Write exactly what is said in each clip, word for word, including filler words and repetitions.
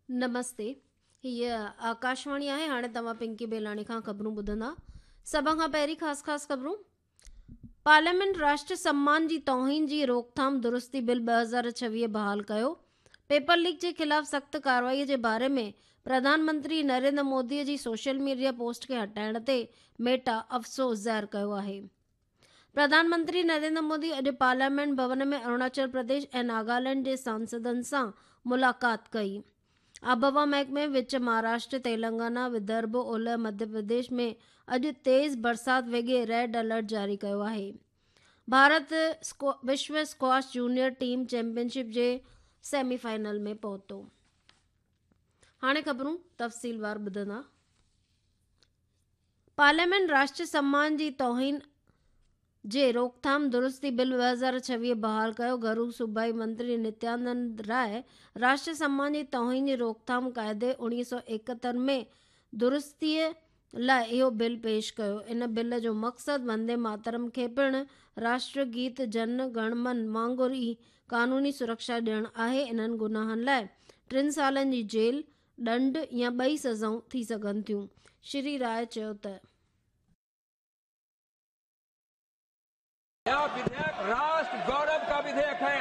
نمستي، هيء آڪاشواڻي آهي. هاڻي توهان پنڪي بيلاڻي کان خبرون ٻڌندا. سڀ کان پهرين خاص خاص خبرون. پارليامينٽ راشٽر سمان جي توهين جي روڪٿام درستي بل ٻه هزار ڇويهه بحال ڪيو. پيپر ليڪ جي خلاف سخت ڪارروائي جي باري ۾ پرڌان منتري نريندر مودي جي سوشل ميڊيا پوسٽ کي هٽائڻ تي ميٽا افسوس ظاهر ڪيو آهي. پرڌان منتري نريندر مودي اڄ پارليامينٽ ڀون ۾ اروناچل پرديش ۽ ناگالينڊ جي سانسدن سان ملاقات ڪئي. آبهوا محڪمي وچ مهاراشٽر، تيلنگانا، ودرڀ، اولهه مڌيه پرديش ۾ اڄ تيز برسات ويڳي ريڊ الرٽ جاري ڪيو آهي. ڀارت وشو squash junior team champion ship جي سيمي فائنل ۾ پهتو. هاڻي خبرون تفصيلوار ٻڌندا. پارليامينٽ راشٽر سمان جي توهين جي روڪٿام درستي بل ٻه هزار ڇويهه بحال ڪيو. گهرو صوبائي منتري نتيانند راءِ راشٽر سمان جي توهين جي روڪٿام قاعدي اڻويهه سؤ ايڪهتر ۾ درستيءَ لاءِ اهو بل پيش ڪيو. ان بل جو مقصد وندي ماترم کي پڻ راشٽر گيت جن گڻ من وانگر ئي قانوني سرڪشا ڏيڻ آهي. انهن گناهن لاءِ ٽن سالن جي جيل، ڏنڊ يا ٻئي سزائون ٿي سگهن ٿيون. شري راءِ چيو ته यह विधेयक राष्ट्र गौरव का विधेयक है।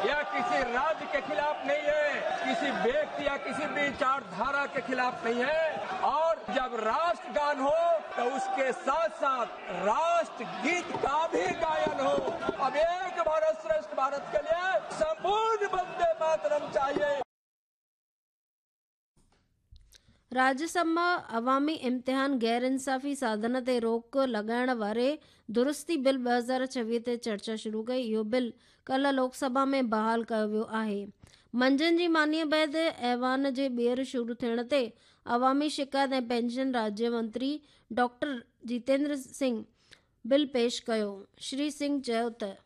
यह किसी राज्य के खिलाफ नहीं है, किसी व्यक्ति या किसी विचारधारा के खिलाफ नहीं है। और जब राष्ट्रगान हो तो उसके साथ साथ राष्ट्रगीत का भी गायन हो। अब एक भारत श्रेष्ठ भारत के लिए संपूर्ण वंदे मातरम चाहिए। राज्यसभा अवामी इम्तिहान गैर इंसाफ़ी साधन ते रोक लॻाइण वारे दुरुस्ती बिल ٻه هزار ڇويهه تي چرچا شروع ڪئي. اهو بل ڪالهه لوڪسڀا ۾ بحال ڪيو ويو آهي. منجهند جي مانيءَ بعد ايوان جي ٻيهر شروع ٿيڻ تي عوامي شڪايت ۽ پينشن راجيه منتري ڊاڪٽر جتيندر سنگهه بل پيش ڪيو. شري سنگهه چيو ته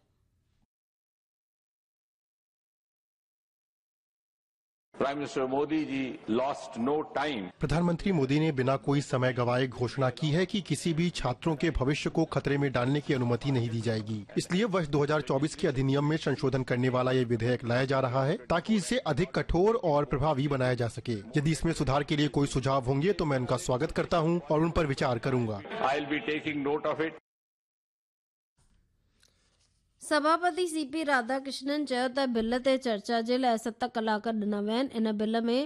Prime Minister Modi ji lost no time. प्रधानमंत्री मोदी ने बिना कोई समय गंवाए घोषणा की है कि किसी भी छात्रों के भविष्य को खतरे में डालने की अनुमति नहीं दी जाएगी। इसलिए वर्ष दो हज़ार चौबीस के अधिनियम में संशोधन करने वाला ये विधेयक लाया जा रहा है ताकि इसे अधिक कठोर और प्रभावी बनाया जा सके। यदि इसमें सुधार के लिए कोई सुझाव होंगे तो मैं उनका स्वागत करता हूँ और उन पर विचार करूंगा। I will be taking note of it. सभापति सीपी राधाकृष्णन चयो त बिल ते चर्चा जे लाइ ست ڪلاڪ ڏنا ويا آهن. ان بل ۾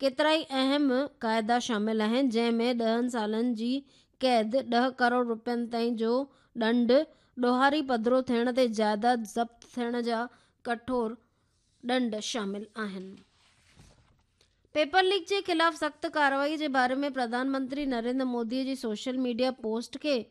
ڪيترائي اهم قاعدا شامل آهن، جنهن ۾ ڏهن سالن جي قيد، ڏهه ڪروڙ رپين تائين جو ڏنڊ، ڏوهاري پڌرو ٿيڻ تي جائداد ضبط ٿيڻ جا ڪٺور ڏنڊ شامل آهن. پيپر ليڪ جي خلاف سخت ڪارروائي جي باري ۾ پرڌان منتري نريندر مودي جي سوشل ميڊيا پوسٽ کي